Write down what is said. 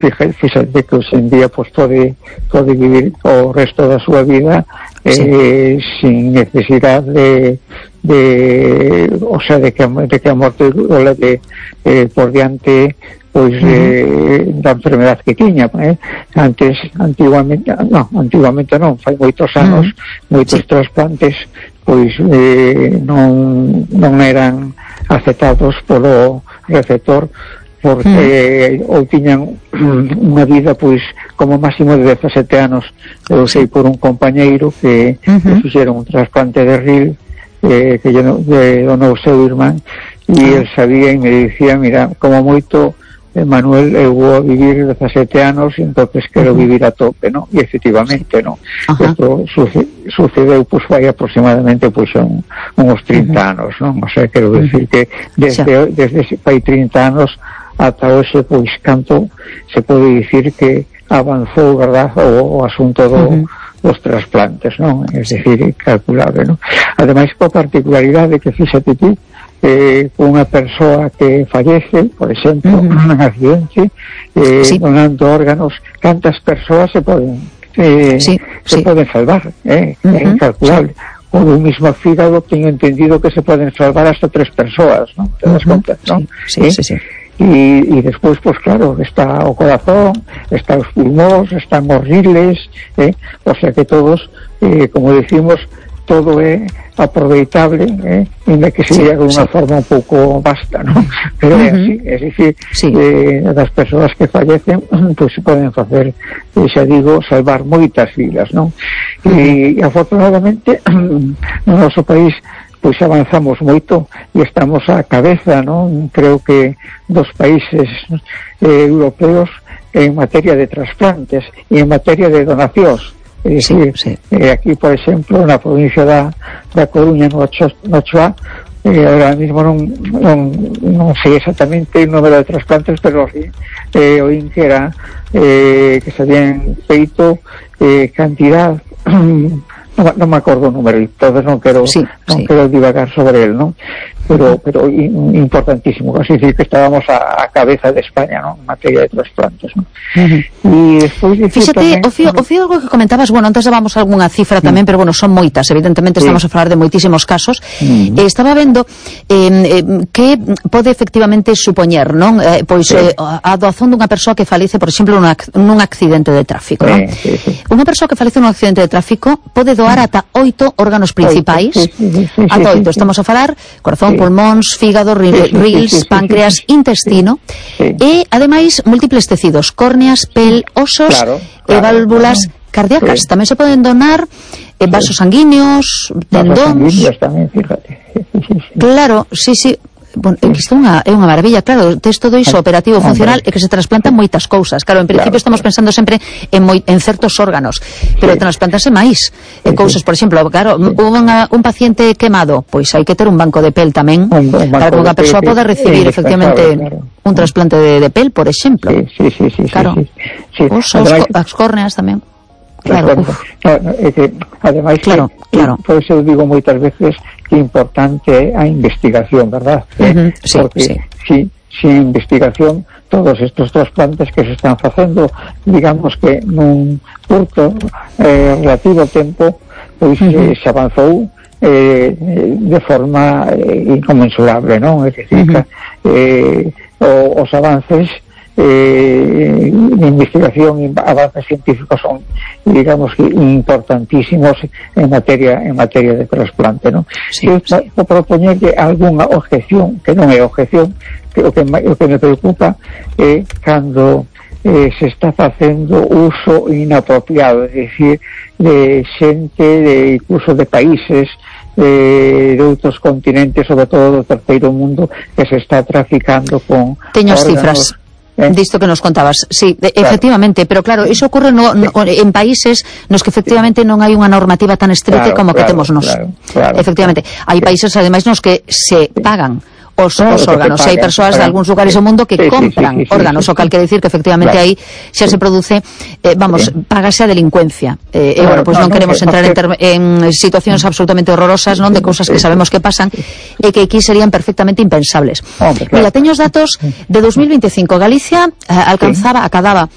fíjate que hoxe en día pues pode vivir o resto da súa vida sin necesidade o sea, de que a morte o leve por diante pois da enfermedad que tiña. Antigamente non, fai moitos anos, moitos trasplantes pois non eran aceptados polo receptor, porque ou tiñan unha vida pois como máximo de 17 anos. Eu sei por un compañeiro que fixeron un trasplante de ril que donou o seu irmán, e el sabía e me dicía, mira, como moito Manuel, eu vou vivir 17 anos e entonces quero vivir a tope, ¿no? E efectivamente, ¿no? Isto sucedeu pois vai aproximadamente pois uns 30 anos, non? O sea, quero decir que desde fai 30 anos ata hoxe, pois canto se pode dicir que avanzou, verdad, o asunto dos trasplantes, non? É dicir, calculable, non? Ademais, coa particularidade que fíxate tú, unha persoa que fallece, por exemplo, nun accidente, donando órganos, cantas persoas se poden salvar, é incalculable. O do mismo fígado teño entendido que se poden salvar hasta 3 persoas, non? Te das conta, non? Sí. E despois, pois claro, está o corazón, está os pulmóns, están os riles, o sea que todos, como decimos, todo é aproveitable, ainda que sería de unha forma un pouco vasta, non? Pero é así, é dicir, das persoas que fallecen, pois se poden facer, xa digo, salvar moitas vidas, non? E afortunadamente no noso país pois avanzamos moito e estamos á cabeza, non? Creo que dos países europeos en materia de trasplantes e en materia de donacións. É dicir, aquí, por exemplo, na provincia da Coruña, no Ochoa, ahora mismo non sei exactamente o número de trasplantes, pero oín que era que se habían feito cantidad, non me acordo o número, entonces non quero divagar sobre él, non? Pero importantísimo, así decir que estábamos a cabeza de España, non? En materia de trasplantes, non? E despois fíxate, o fío algo que comentabas, bueno, antes dábamos algunha cifra tamén, pero bueno, son moitas, evidentemente estamos a falar de moitísimos casos. Estaba vendo que pode efectivamente supoñer, non? Pois a doazón dunha persoa que falece, por exemplo, nun accidente de tráfico, non? Unha persoa que falece nun accidente de tráfico pode doar ata 8 órganos principais, ata 8, estamos a falar corazón, pulmóns, fígado, rils, páncreas, intestino, e ademais múltiples tecidos, córneas, pel, osos e válvulas cardíacas. Tamén se poden donar vasos sanguíneos, tendóns. Claro, sí. Bueno, isto é unha maravilla, claro, tes todo iso operativo, funcional, e que se trasplantan moitas cousas. Claro, en principio estamos pensando sempre en certos órganos, pero trasplantanse máis cousas, por exemplo, claro, un paciente quemado, pois hai que ter un banco de pel tamén, para que unha persoa poda recibir efectivamente un trasplante de pel, por exemplo. Claro, osos, as córneas tamén. Claro, ademais, por eso eu digo moitas veces que é importante a investigación, verdad? Porque sin investigación todos estos trasplantes que se están facendo, digamos que nun curto relativo tempo, pois se avanzou de forma inconmensurable, non? É dicir, os avances de investigación e avances científicos son, digamos, importantísimos en materia de trasplante, ¿no? O propoñerlle algunha objeción, que non é objeción, que o que me preocupa é cando se está facendo uso inapropiado, é dicir, de xente, de incluso de países de outros continentes, sobre todo do terceiro mundo, que se está traficando con teño as cifras disto que nos contabas, sí, efectivamente, pero claro, iso ocurre en países nos que efectivamente non hai unha normativa tan estricta como que temos nos. Efectivamente, hai países ademais nos que se pagan os órganos. Hai persoas de algúns lugares do mundo que compran órganos, o cal quere dicir que efectivamente aí xa se produce, págase a delincuencia. Bueno, pois non queremos entrar en situacións absolutamente horrorosas, non, de cousas que sabemos que pasan e que aquí serían perfectamente impensables. Mira, teño os datos de 2025. Galicia acadaba